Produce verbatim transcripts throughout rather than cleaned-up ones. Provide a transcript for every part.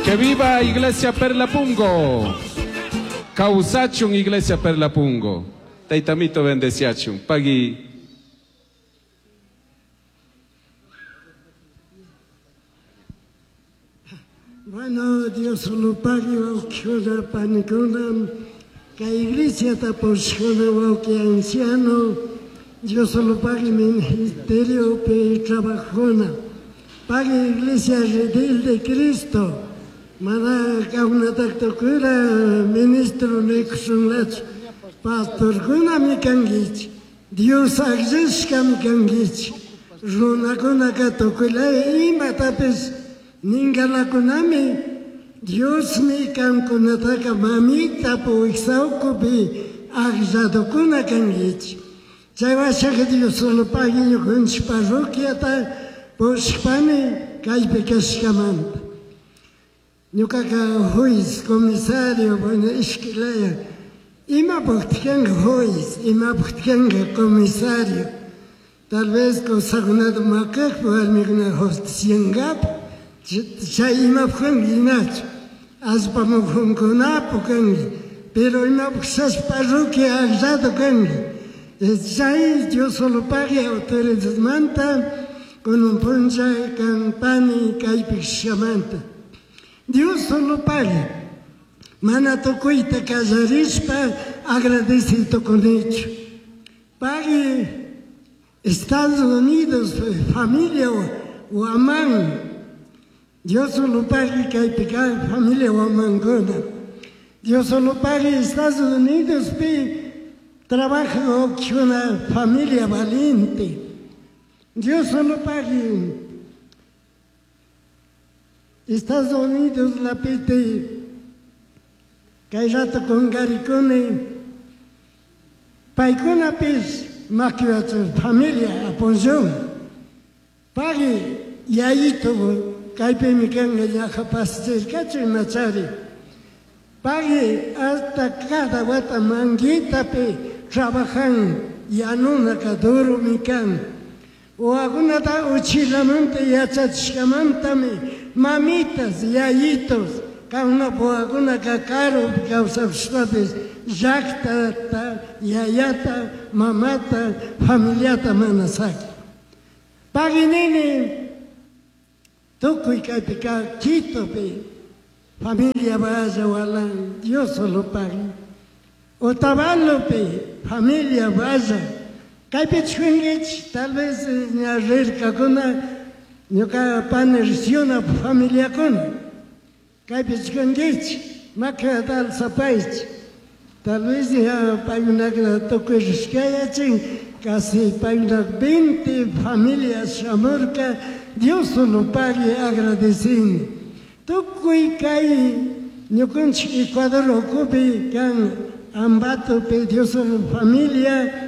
Que viva Iglesia Perlapungo. Causachun Iglesia Perlapungo. Taitamito bendeciachun. Pagui. Bueno, Dios lo pague, wawqikuna, panikuna, kay iglesia tapushkuna, wawqi anciano, Dios lo pague ministerio pe trabajona. Pague iglesia redil de Cristo. Mana kaunataktokura ministro nikushunlachu. Pastorkunami kankichik. Dios akllashkami kankichik. Runakunaka tukuylaya imatapis ninkalakunami Diosmi kankunataka mamita puwiksawkupi akllladukuna kankichik. Chay washaka Dios solo pagui ñukanchik parroquiata pushpani kaypi kashkamanta. Ñukaka juez, comisario, bueno, ishkilaya. Imapaqta kanka juez, imapaqta kanka comisario. Tal vez kusakunata makakpi warmikuna justiciankapa. Chay imapaq kanka inachu. Allpa mukunkunapu kanki. Pero imapaq shash parroquia akllado kanki. Chay Dios solo pagui autoridadmanta con un puncha kan pani kaypi kashamanta. Dios solo pagui. Mana tukuyta kallarishpa agradecido con hecho. Pagui Estados Unidos, familia Huamán. Dios solo pagui kaypi kaq familia Huamankuna. Dios solo pagui Estados Unidos pi trabaja una familia valiente. Dios solo pagui Estados Unidos la pite kay rato kunkarikuni paykunapis makiwachun familia apoyón. Pagui yayito kaypimi kanka ñaja pasachirkachu imachari. Pagui hasta cada wata manguitapi trabajan yanunaka durumi kan. Wawakunata uchilamanta yachachishkamantami mamitas, yayitos, kankunapa wawakunaka karupi kawsakushpapis llaqtata, yayata, mamata, familiata mana saqin. Pagui nini tukuy kaypi kaq Quitopi familia Valle Walán, Dios solo pagui. Otavalopi familia Valle. Kaypi chunkichik, tal vez ña rirkakuna ñuka pani risiuna familiakuna. Kaypi chunkichik, makata alzapaychik. Tal vez ña paykunaka tukuy rishkayachin, casi paykunaka veinte familias shamurka, Dios solo pagui agradecini. Tukuy kay ñukanchik Ecuador ukupi kan Ambatopi Dios solo familia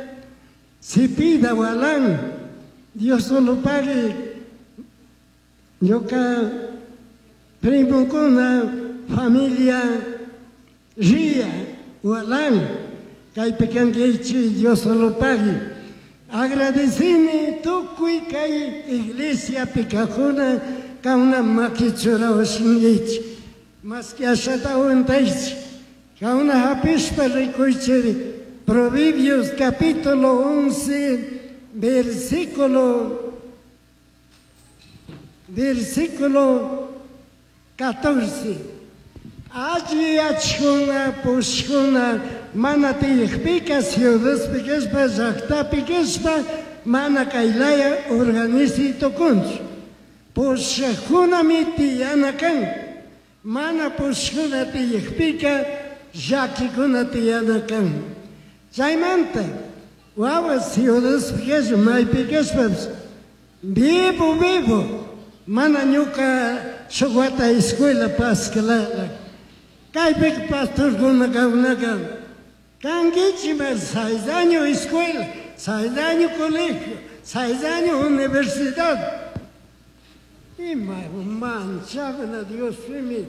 Sipida Walán, Dios solo pagui ñuka primokuna familia Ría Walán, kaypi kankichik Dios solo pagui. Agradecini tukuy kay iglesia kaqkuna kauna makichurawashinkichik. Maski ashata untaychik. Kauna hapishpa rikuychik Proverbios capítulo once, versículo, versículo catorce. Alli achkuna pushkuna mana tiyaqpika ciudadpi kashpa llaqtapi kashpa mana kaylaya organizi tukunchu. Pushaqkunami tiyana kan. Mana pushkuna tiyaqpika llakikuna tiyana kan. Chaymanta wawa ciudadpi kashpa maypi kashpapish vivo vivo mana ñuka shuk wata escuela pascalala. Kaypika pastorkuna kawunaka kankichik seis años escuela, seis años colegio, seis años universidad. Ima manchakuna Dios mío.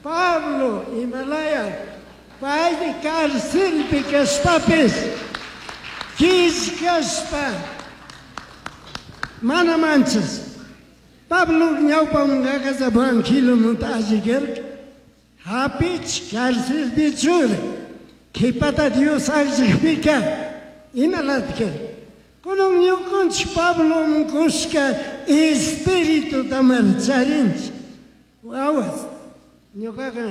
Pablo Himalaya paymi carcelpi kashpapis killkashpa mana manchas. Pablo ñawpamunqaqa evangeliomunta allikarqa hapich cárcelpi chura qhipata Dios alliqpiqa imalataq kunan ñuqanchik Pablo kushka espíritu charinchik wawas ñuqaqa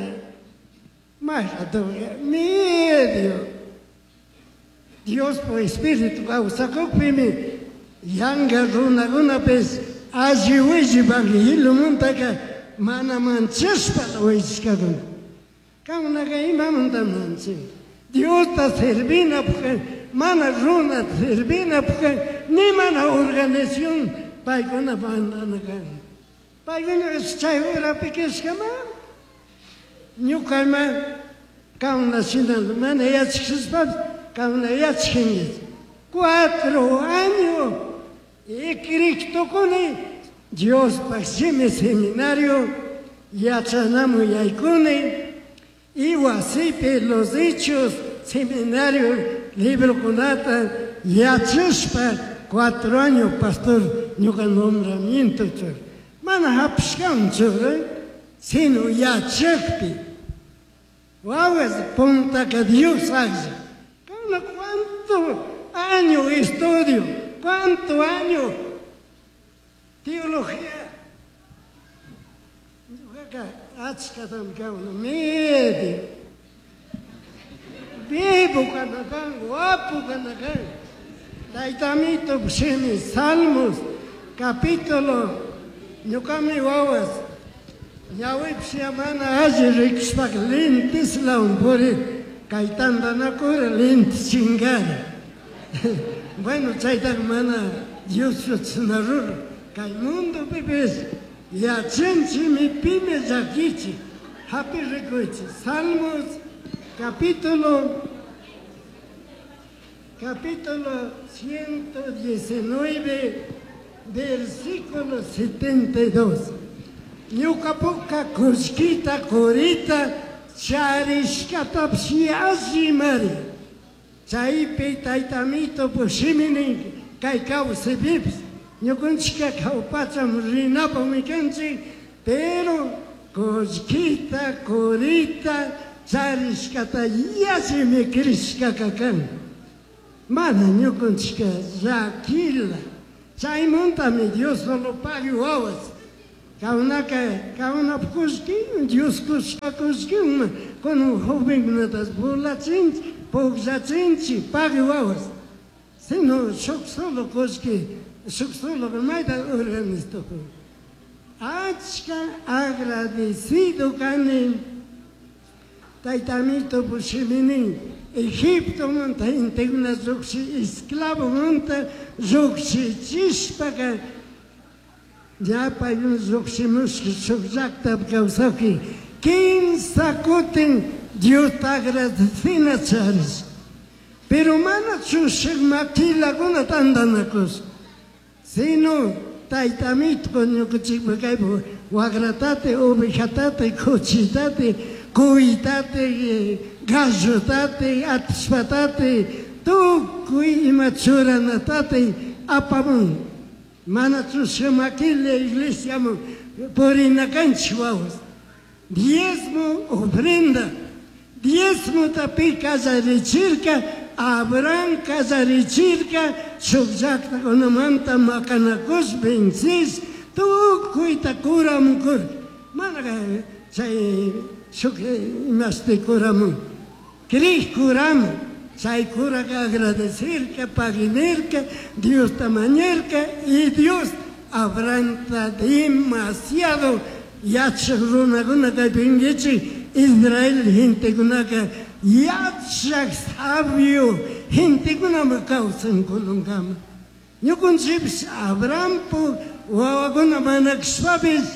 mayqata medio Diospa espíritu kawsakupimi yanqa runakunapis alli willi evangeliomuntaqa mana manchashpa willashkakuna qamkunaqa imamanta manchin Diosta servinapaq mana runa servinapaq ni mana organización paykuna mandana kan paykuna chay urapi kashkama ñuqama qamna shina mana yachashpapis qamna yachashankichik cuatro años y Cristokuni Diospaq shimi seminario yachanamun yaykuni y wasipi los hechos seminario librokunata yachashpa cuatro años pastor ñuqa nombramiento chur mana hapishkanchu sino yachakpi wawas puntaka Dios aklla kana cuánto año estudio cuánto año teología ñuqaqa achkatam kawna medio vivo kana kan guapo kana kan taytamito shimi Salmos capítulo ñuqami wawas ñawipish mana alli rikushpaka lenteslawan purini kay tantanakura lentes chingari bueno chaytaqa mana Dios chashna ruran kay mundopipis yachanchikmi pimi llakichik hapi rikuychik Salmos capítulo capítulo ciento diecinueve versículo setenta y dos ñuqapuka kullkita qurita charishkatapish yallimari chaypi taytamito shimi nin kay kawsaypipis ñuqanchikka kawpacham rinapaqmi kanchik pero kullkita qurita charishkata yallimi crishkaka kan mana ñuqanchikka llakila chaymuntami Dios solo pagui wawas qamkunaka qamkunapaq kullkin Dios kushka kullkinman kunan jovenkunata burlachinchik pukllachinchik pagui wawas sino shuk solo kullki shuk solo mayta organiztukun achka agradecido kani taytamito shiminin Egiptomanta gentekuna lluqshi esclavomanta lluqshichishpaka ya paykuna lluqshimushka shuk llaqtapi kawsaqpi kimsa kutin Diosta agradecina charish pero mana chushik makilakuna tantanakush sino taytamito ñuqanchikpa kaypi wakratate ovejatate kuchitate cuytate gallotate atishpatate tukuy ima churanatate apamun mana chushik makilla iglesiaman purinakanchik wawas diezmo ofrenda diezmota pi kallarichirka Abraham kallarichirka shuk llaqtakunamanta maqanakush vencish tukuyta kuramun kurka mana chay shuk imashti kuramun kriq kuramun chay kuraka agradecirka paginirka Diosta mañarka y Dios Abrahamta demasiado yachaq runakuna kaypinkichik Israel gentekunaka yachaq sabio gentekunami kawsan kununkama ñuqanchikpis Abrahampa wawakuna mana kashpapis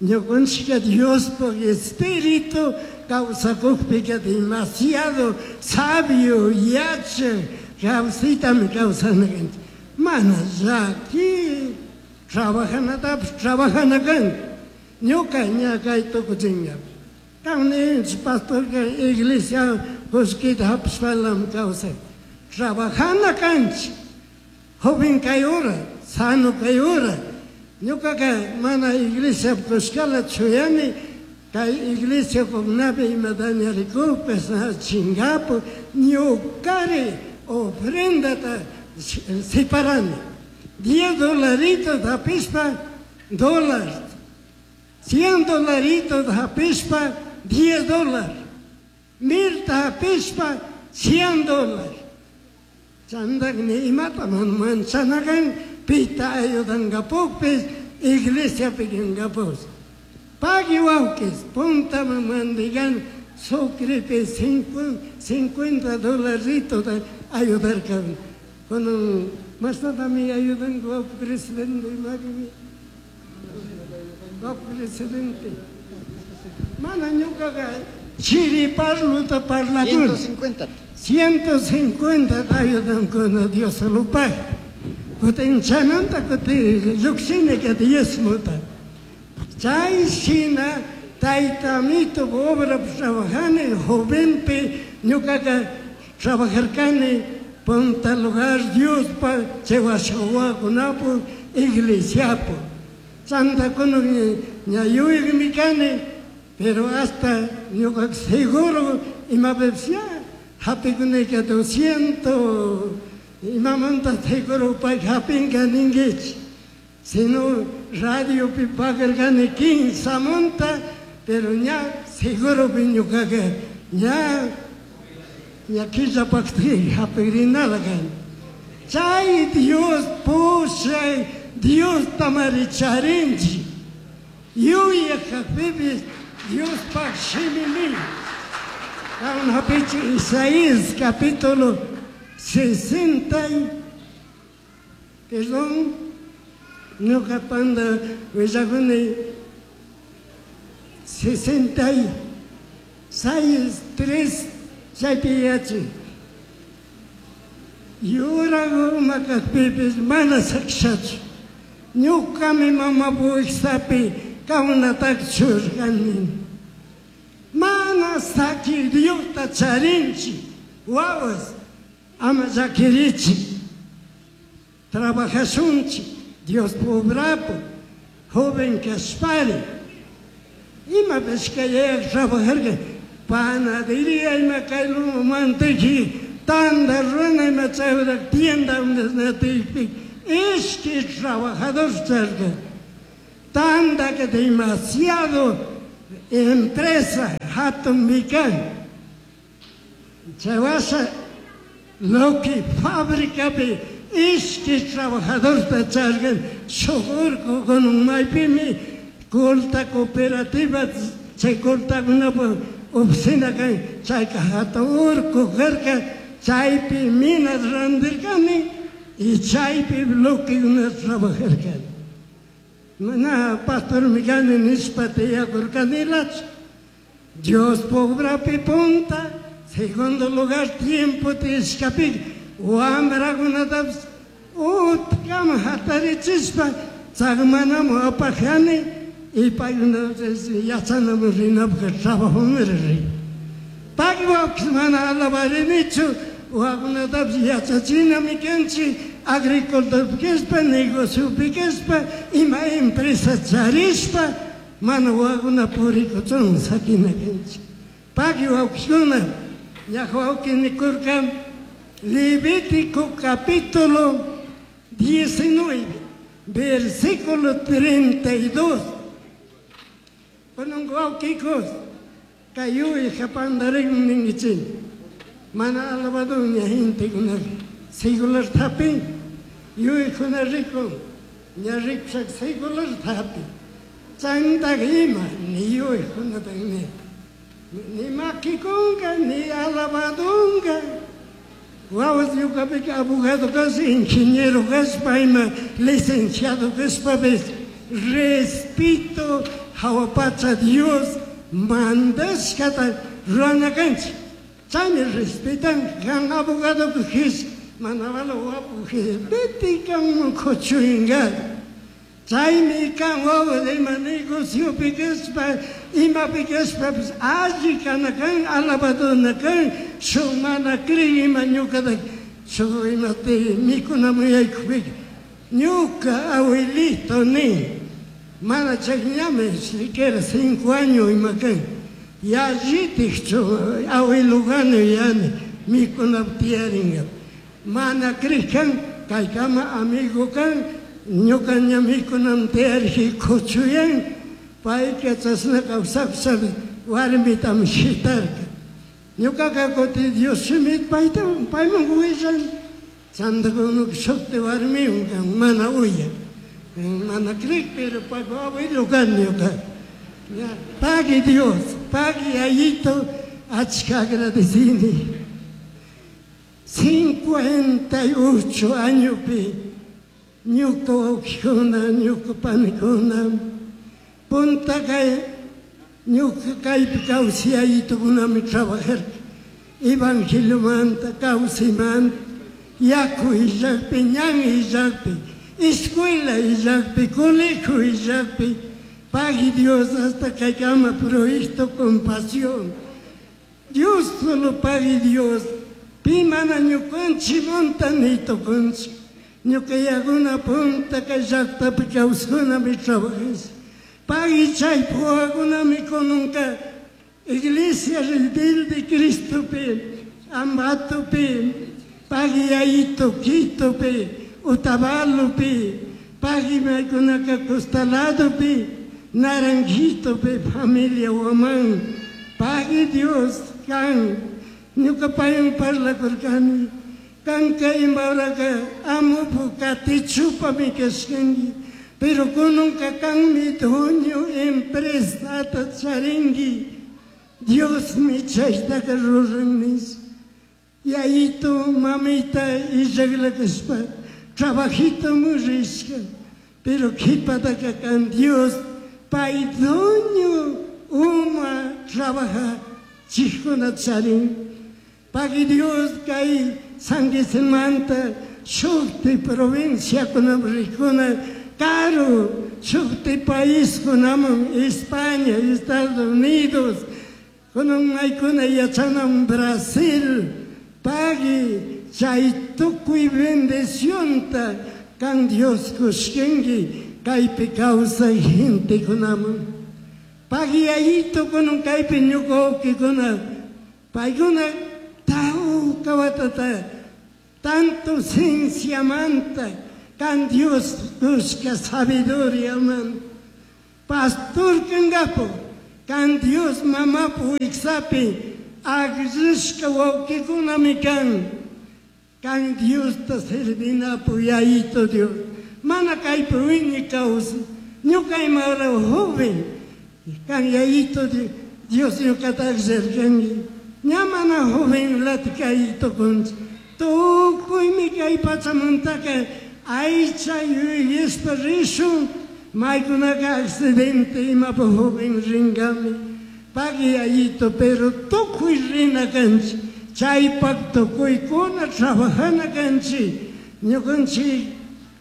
ñuqanchikka Diospaq espíritu kawsakukpika demasiado sabio yachaq kawsaytami kawsana kanchik mana llaki trabajanatapish trabajana kan ñuka ña kay tukuchinka qamninchik pastorka iglesia kullkita hapishpalam kawsay trabajana kanchik joven kay hora sano kay hora Ñukaqa mana iglesia kushkala chuyani, kay iglesia kunapi imataña rikukpas chingapu ñukari ofrendata separani. Diez dolaritos hapishpa dólar, cien dolaritos hapishpa diez dólar, milta hapishpa cien dólar. Chandak ni imata manchanakan pita ayudankapukpis iglesia pikinkapus. Pagui wawkis punta mandigan sucrepi cincuenta dolaritos ayudarkan. Con más me ayudan guau presidente, guau presidente. Mana ñukaqa chiri parluta parlakun. ciento cincuenta. ciento cincuenta ayudan con Dios lo paga. Kutin chananta kutin lluqshini ka diezmota. Chay shina taytamito obra trabajani jovenpi ñukaqa trabajarkani punta lugar Diospa chaywasawakunapu iglesiapu. Chanta kunan ña yuyaymi kani, pero hasta ñuka seguro imapipis ya hapikunayka doscientos imamanta seguro pay hapinka ninkichik. Sino radiopi pagarkani quince monta, pero ña seguropi ñukaqa ña ña killapaqti hapikrinala kani. Chay Dios pushay Diosta maricharinchik. Yuyaq kaqpipis Diospaq shimimi. Kan hapichik Isaías capítulo sesenta y, perdón, ñuqa panda willakuni sesenta y seis, tres, chaypi yachin. Yuragu makaqpipis mana sakshachu. Ñuqami mama wiksapi kawnatak churqani. Mana saki Diosta charinchik, wawas ama llakirichik. Trabajashunchik, Dios obrapu, joven kashpari. Imapish kay trabajarqa, panadería ima kay manteki, tanda runa ima chayra tienda natiypi, ishki trabajador charqa. Tanda que demasiado empresa hatun mikan. Chaywasha lo que fábricapi ishki trabajadorta charqan, shuk urqu kunan maypimi culta cooperativa chay cultakunapa oficina kan, chayka hatun urqu karqa, chaypi minas randirkani y chaypi bloquekuna trabajarkani. Mana pastormi kani nishpa tiyakurkanilachu. Dios obrapi punta, segundo lugar tiempo tishkapi, wamrakunatapis utkama hatarichispa tsakmanamu apajani y paykuna yachanamu rinapaq trabajoman rin. Paywapish mana alabarinichu, wawakunatapis yachachinami kanchik, agricultor kashpa, negociopi kashpa, ima empresa charishpa, mana wawakuna purikuchun sakina kanchik. Paki wawkikuna, ñaja wawki nikurka Levítico capítulo diecinueve, versículo treinta y dos. Kunan wawkikos, kay japandarin ningichik. Mana alabado ña gentekuna secular thapin, yuykuna rikun, ña rikushak secular thapin. Chayntaka ima, ni yuykunata ni, ni makikunka, ni alabadunka. Wawas ñuqapika abogado kaspa, ingeniero kaspa, ima licenciado kaspapis, respeto hawa pacha Dios mandashkata rurana kanchik. Chaymi respetan kan abogado kis mana wala wapu kis vete kanman kuchuyinka. Chaymi kan wawas ima negociopi kaspa, imapi kaspapis alli kana kan, alabaduna kan, shuk mana cree ima ñuqata shuk imate mikunaman yaykupika. Ñuka abuelito ni mana chayñami siquiera cinco años imakan yallitikchu abuelogani yani mikunapi tiyaringa mana crejan kaykama amigo kan ñuka ña mikunan tiyariji kuchuyan payka chashna kawsapsha warmitami shitarka ñukaka kuti Dios shimita payta payman willan chantakunuka shukti warmiwan kan mana uyan mana creek pero paypa abuelo kan ñuka pagui Dios pagui Yayito achka agradecini cincuenta y ocho añopi ñuka wawkikuna ñuka panikuna punta kay ñuka kaypi kawsay Yayitukunami trabajarka evangeliomanta kawsaymanta yaku illakpi ñan illakpi escuela illakpi colegio illakpi pagui Dios hasta kaykama proyecto compasión Dios solo pagui Dios pi mana ñukanchikmanta nitukunchik ñuka yakuna punta kay llaktapi kawskunami trabajash pagui chay puwakunami kunanka iglesia rebelde Cristopi Ambatopi pagui Yayito Quitopi Otavalopi pagui maykunaka Costaladopi Naranjitopi familia Huamán pagui Dios kan ñuka paywan parlakurkani kanka imaraka amupu katichupami kashkanki pero kunanka kanmi dueño empresata charinki Diosmi chaytaka ruran nish Yayito mamita illakla kashpa trabajitomi rishka pero qhipataka kan Dios pay dueño uma trabaja chikuna charin pagui Dios kay Sanguisimanta shukti provinciakunaman rikuna karu shukti paiskunaman España, Estados Unidos kunan maykuna yachanan Brasil pagui chay tukuy bendicionta kan Dios kushkanki kaypi kawsay gentekunaman pagui Yayito kunan kaypi ñuka wawkikuna paykuna tawka watata tanto cienciamanta kan Dios kushka sabiduriamanta pastor kangapo kan Dios mamapu wiksapi akllashka wawkikunami kan kan Diosta servinapu Yayito Dios mana kaypi wiñay kawsay ñuka imara joven kan Yayito Dios ñukata akllarkanki ña mana jovenlata kay tukunchik tukuymi kay pachamantaka aycha yuyashpa rishun maykunaka accidente imapa joven rinkami pagui Yayito pero tukuy rina kanchik chaypak tukuykuna trabajana kanchik ñukanchik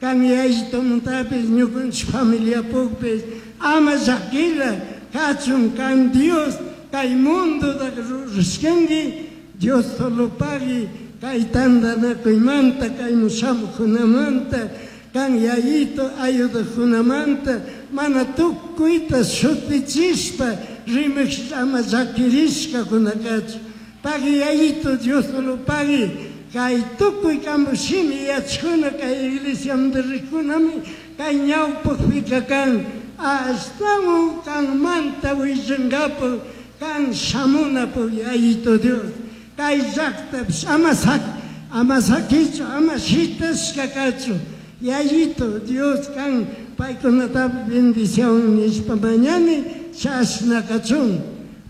kan Yayitomantapis ñukanchik familiapukpis ama llakila kachun kan Dios kay mundotaka rurashkanki Dios solo pagui kay tantanakuymanta kayman shamuqkunamanta kan Yayito ayudaqkunamanta mana tukuyta shutichishpa rimaq ama llakirishkakuna kachun pagui Yayito Dios solo pagui kay tukuy kanpak shimi yachakuna kay iglesiamanta riqkunami kay ñawpaqpika kan ashtawan kanmanta willankapak kan shamunapuk Yayito Dios kay llaktapish ama sak ama sakichu ama shitashka kachun Yayito Dios kan paykunatapish bendición nishpa mañani chashna kachun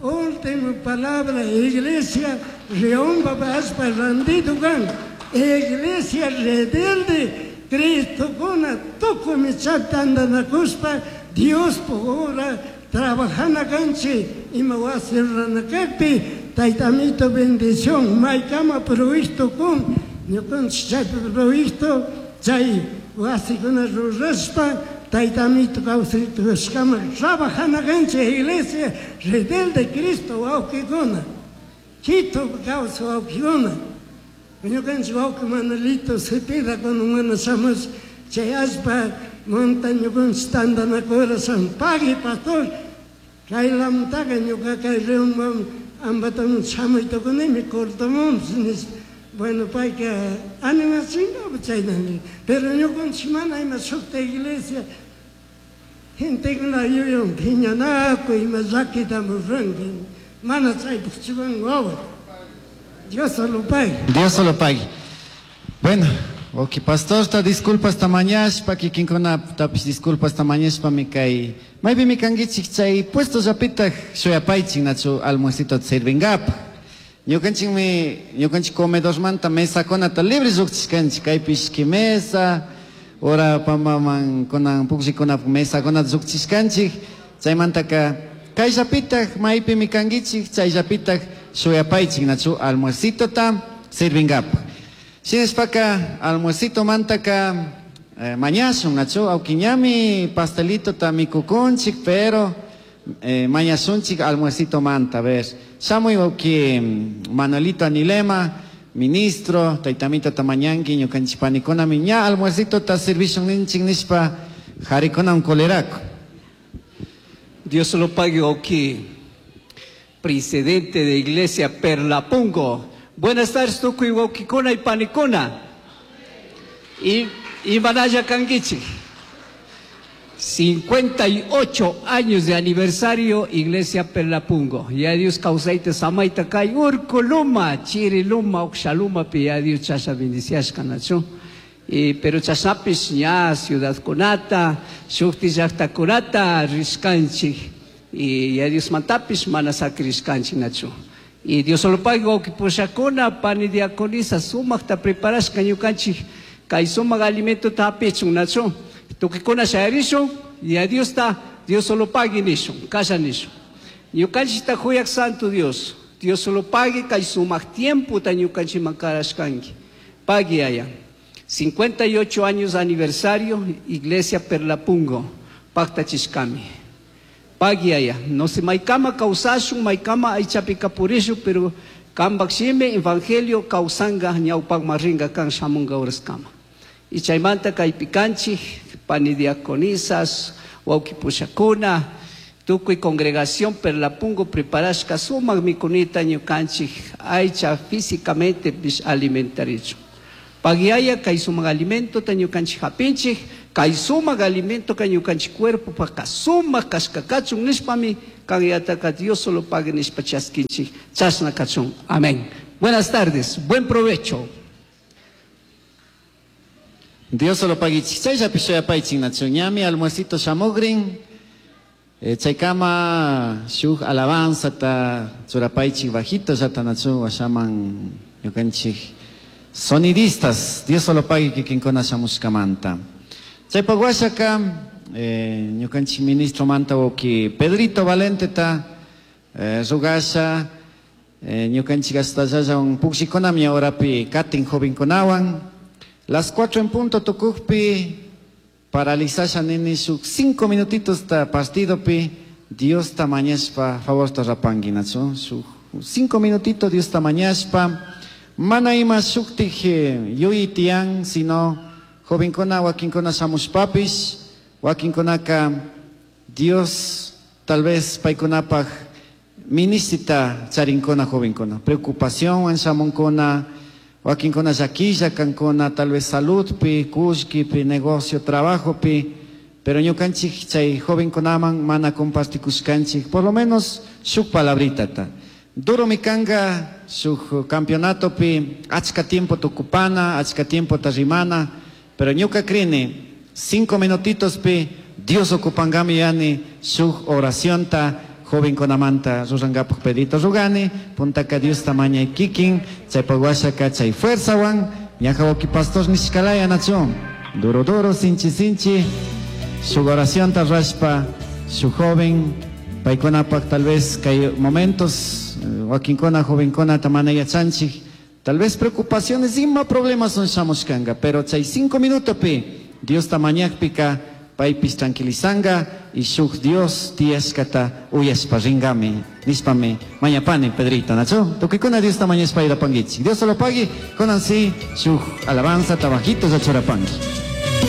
última palabra iglesia León allpa randido kan iglesia rebelde Cristokuna tukuymi chay tantanakushpa Diospuk obra trabajana kanchik ima wasi rurana kakpi Tayta Amito bendición maykama proyecto kun ñukanchik chaypi proyecto chay wasikuna rurashpa Tayta Amito kawsaytukushkama trabajana kanchik iglesia rebelde Cristo wawkikuna Quito kawsay wawkikuna ñukanchik wawki Manuelito Cepeda kunan mana shamush Chay allpa monta ñukanchik tantanakura san pagui pastor. Kaylamtaqa ñuka kay reunman Ambatoman shamuy tukunimi cortomunpis nispa. Bueno, payka animachinga chayna. Pero ñukanchik mana ima shukta iglesia gentekuna yuyan phiñanakuy ima llakita ruranka. Mana chaypaq churan wawa. Dios solo pague. Dios solo pague. Bueno, ok, pastor, ta disculpas ta mañashpa, kikinkuna tapis disculpas ta mañashpa mi kay. Maypi mi kankichik chay puesto llapitaq shuyapaychik nachu almuercito sirvingapaq. Ñukanchikmi, ñukanchik comedormanta mesakunata libre lluqchishkanchik, kaypish mesa, ora pambaman kunan pukllikunapak mesakunata lluqchishkanchik, chaymantaka kayllapitaq maypi mi kankichik, chayllapitaq shuyapaychik nachu almuercitota sirvingapaq. Shinashpaka almuercito mantaka eh, mañashun nachu awkiñami pastelito ta mikukunchik, pero eh, mañashunchik almuercito manta. A ver, shamuy wawki Manuelito Anilema, ministro, taytamito tamañanki ñukanchik panikunami ña almuercito ta servishun ninchik nishpa harikunam kolerako. Dios lo pague, ok. Presidente de Iglesia Perlapungo. Buenas tardes, tukuy wawkikuna y panikuna. Y, y Manaya kankichik. cincuenta y ocho años de aniversario Iglesia Perlapungo. Ya Dios kawsayta samayta kay urku luma, chiri luma, ukshaluma pi ya Dios chasha bendiciashka nachu. Y, pero chashapish ña ciudad kunata, shukti llaqtakunata rishkanchik. Y ya Dios mantapish mana sakrishkanchik nachu. Y Dios solo pague wawki pushakuna, pani diaconisa sumaqta preparashka ñukanchik kay sumaq alimento hapichun nachu. Tukikuna shayarishun y a Dios ta, Dios solo pague nishun, kasha nishun. Ñukanchikta huyak Santo Dios, Dios solo pague kay sumaq tiempo ta ñukanchikman karashkanki. Pague allá. cincuenta y ocho años aniversario, Iglesia Perlapungo, Pactachishkami. Pague allá. No se maykama kawsashun, maykama aychapi kapurishu, pero kambak shimi evangelio kawsanga ñawpakman ringa kan shamunga uraskama. Y chaymanta kaypi kanchik, pani diaconisas, wawki pushakuna, tukuy congregación Perlapungo preparashka sumaq mikunita ñukanchik aycha físicamente pish alimentarichu. Pagiaya kay sumaq alimento ta ñukanchik hapinchik, kay sumaq alimento ka ñukanchik cuerpo pa sumaq kashka kachun nishpami kanyataka Dios solo pague nishpa chaskinchik, chashna kachun. Amén. Buenas tardes, buen provecho. Dios solo paguichik. Chayllapi shuyapaychik nachu ñami almuercito shamugrin. Eh, chaykama shuk alabanza ta churapaychik bajito llata nachu washaman ñukanchik sonidistas. Dios solo pague kikinkuna shamushkamanta. Chaypak washaka eh, ñukanchik ministro manta wawki Pedrito Valente ta eh, rugasha eh, ñukanchik hasta llallawan pukshikunami horapi katin jovenkunawan. Las cuatro en punto tukukpi paralizasha nini shuk cinco minutitos ta partido pi Dios ta mañashpa favor ta rapangi nachu shuk cinco minutitos Dios ta mañashpa mana ima shuktik yuyi tiyan sino jovenkuna wakinkuna shamushpapish wakinkunaka Dios tal vez paykunapaj ministita charinkuna jovenkuna preocupación shamunkuna wakinkuna llakilla kankuna tal vez saludpi kullkipi negocio trabajopi, pero ñukanchik chay jovenkunaman mana compartikushkanchik por lo menos shuk palabrita. Duro mi kanga shuk campeonatopi achka tiempo tukupana, achka tiempo rimana, pero ñuka krini cinco minutitos pi Dios ocupangami yani shuk oracionta jovenkunamanta rurangapak pedito rugani puntaka Dios tamañay kikin chaypak washaka chay fuerzawan ñaja wawki pastor nishkalaya nachu duro duro sinchi sinchi shuk oracionta rashpa shuk joven paykunapak tal vez kay momentos wakinkuna jovenkuna mana yachanchik tal vez preocupaciones ima problemas son shamushkanga, pero chay cinco minutopi Dios tamañakpika paypis tranquilizanga y shuk Dios tiyashkata uyashpa ringami nishpami mañapani Pedrito nachu tukuykuna Dios tamañashpa irapanguichik. Dios solo pagui kunan si shuk alabanza tabajito churapangi.